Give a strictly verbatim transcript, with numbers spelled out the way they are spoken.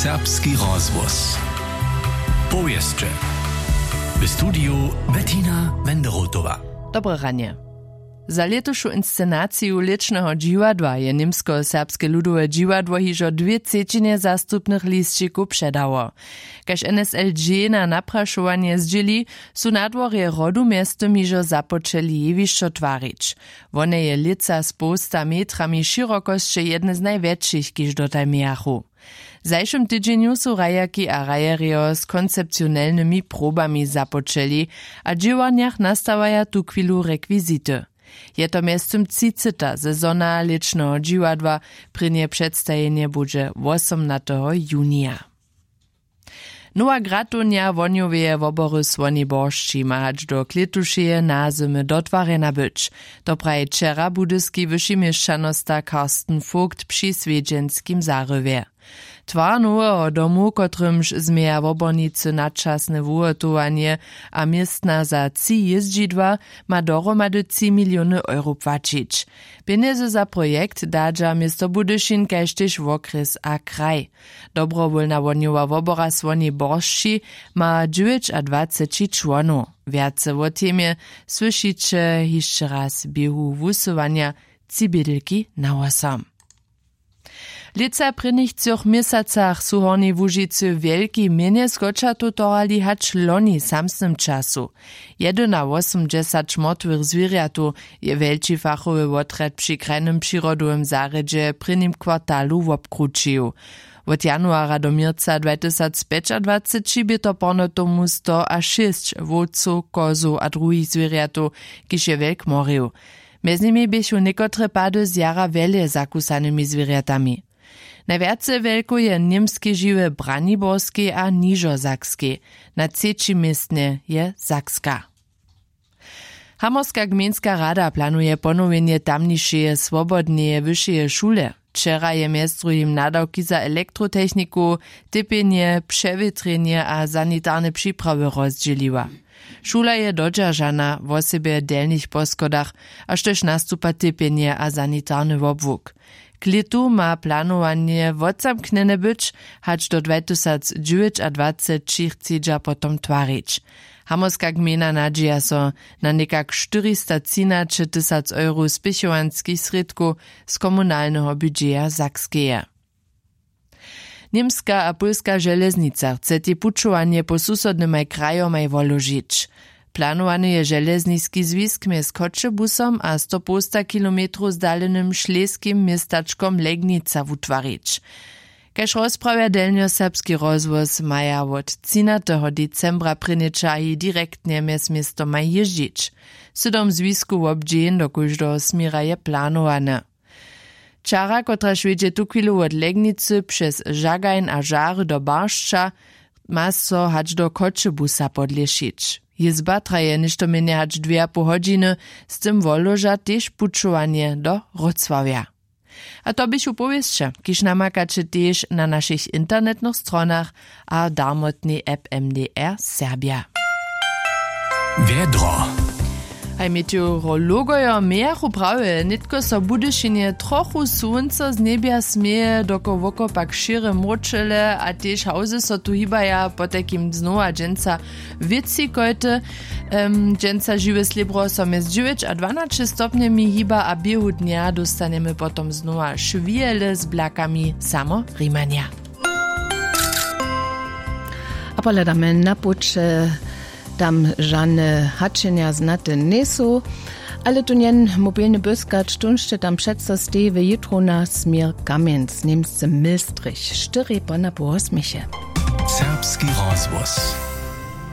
Serbski rozhłos. Powěsće. W studiju Bettina Wenderotowa. Dobre ranje. Za lětušu inscenaciju lěćneho dźiwadła je němskoserbske ludowe dźiwadło hižo dwě třećinje zastupnych lisćikow předało. Kaž N S L G na naprašowanje zdźěli, su na dworje Hrodu mjeztym hižo započeli jewišćo twarić. Wone je lětsa z połsta metrami šěrokosće jedne z najwjetšich, kiž dotal mějachu. W zašłym tydźenju su hrajerki a hrajerjo z koncepcionelnymi probami započeli a w dźěłarnjach nastawaja tuchwilu rekwizity. Je to mjeztym třiceha sezona lěćneho dźiwadła. Prěnje předstajenje budźe wosomnateho junija. Nowa gratownja Wohnjoweje wobory Słoni Boršći ma hač do klětušeje nazymy dotwarjena być. To praji wčera budyski wyši měšćanosta Carsten Vogt při swjedźenskim zarywje. Twar noweho domu, kotrymž změja wobornicy na časne wuhotowanje a městna za tři jězdźidła, ma dohromady tři miliony euro płaćić. Pjenjezy za projekt dadźa město Budyšin kaž tež wokrjes a kraj. Dobrowólna wohnjowa wobora Słoni Boršći ma dźewjećadwaceći čłonow. Wjace wo temje słyšiće hišće raz w běhu wusyłanja. Tři bědelki na wosom. W lětsa prěnich třoch měsacach su w Hornjej Łužicy wjelki mjenje skočatow torhali hač loni w samsnym času. Jedynawosomdźesać mortwych zwěrjatow je wjelči fachowy wotrjad při krajnym přirodowym zarjedźe w prěnim kwartalu wobkrućił. Wot januara do měrca dwatysacpjećadwaceći bě to porno tomu sto a šěsć wowcow, kozow a druhich zwěrjatow, kiž je wjelk morił. Mjez nimi běchu někotre pady z jara wjele zakusanymi zwěrjatami. Najwjace wjelkow je w němskej žiwje w Braniborskej a Nižosakskej. Na třećim městnje je Sakska. Hamorska gmejnska rada planuje ponowjenje tamnišeje swobodneje wyšeje šule. Wčera je mjez druhim nadawki za elektrotechniku, typjenje, přewětrjenje a sanitarne připrawy rozdźěliła. Šula je dodźeržana, wosebje w delnich poschodach, a štož nastupa typjenje a sanitarny wobłuk. K lětu ma planowanje wotzamknjene być, hač do dwatysacdźewjećadwaceći chcedźa potom twarić. Hamorska gmejna nadźija so na někak štyristotřinaćetysac euro spěchowanskich srědkow z komunalneho budźeja Sakskeje. Němska a pólska železnica chce tej pućowanje po susodnymaj krajomaj woložić. Planowany je železniski zwisk mjez Choćebusom a stopołsta kilometrow zdalenym šleskim městačkom Legnica wutwarić. Kaž rozprawja delnjoserbski rozhłos, maja wot třinateho decembra prěnje čahi direktnje mjez městomaj jězdźić. Sydom zwisku wobdźěń do kóždeho směra je planowane. Čara, kotraž wjedźe tuchwilu wot Legnicy přez Žagajn a Žary do Baršća, ma so hač do Choćebusa podlěšić. Jězba traje něšto mjenje hač dwě a poł hodźiny, z tym woloža tež pućowanje do Wrocławja. A to běchu powěsće, kiž namakaće tež na našich internetnych stronach a w darmotnej app M D R Serbja. Wjedro. Haj, meteorologojo mějachu prawje, nětko so w Budyšinje trochu słónco z njebja směje, dokoł wokoło pak šěrje mróčele a tež hałzy so tu hibaja, potajkim znowa dźensa wětřikojty. Em, dźensa žiwe slěbro so mjez dźewjeć a dwanaće stopnjemi hiba a w běhu dnja dóstanjemy potom znowa šwihele z blakami samo rimanja. A pohladamy na puće, tam žane hačenja znate njejsu, ale tu njen mobilny byskać, tón sće tam přeco steji w jutrowna směr Kamjenc, němsce Milstrich, štyri ponapoł wosměche. Serbski rozhłos.